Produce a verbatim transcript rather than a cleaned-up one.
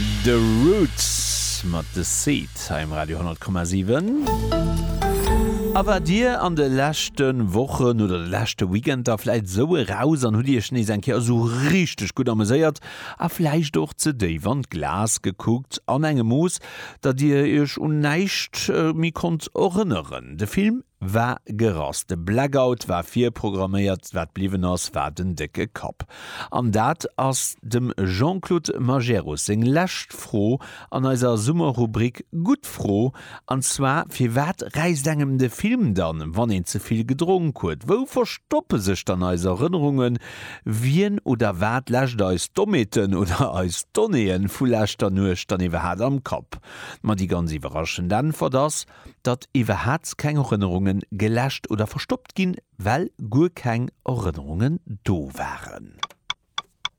The Roots mat The Seed hei um Radio honnert Komma siwen. A waart Dir an de leschte Wochen oder de leschte Weekender vläit esou eraus an hutt Iech nees eng Kéier esou richteg gutt ameséiert a vläicht och ze déif an d'Glas gekuckt, an engem Mooss, datt Dir Iech un näischt méi konnt erënneren? De Film war gerass, de Blackout war virprogramméiert, wat bliwwen ass, war den décke Kapp. An dat ass dem Jean-Claude Majerus seng lescht Fro an eiser Summerrubrik Gutt Fro, an zwar, Firwat räisst engem de Film dann, wann een ze vill gedronk huet? Wou verstoppe sech dann eis Erënnerungen? Wien oder wat läscht eis Dommheeten oder eis Donnéeë vu leschter Nuecht dann iwwerhaat am Kapp? Ma déi ganz iwwerraschend Äntwert ass, datt iwwerhaat keng Erënnerungen geläscht oder verstoppt ginn, well guer keng Erënnerungen do waren.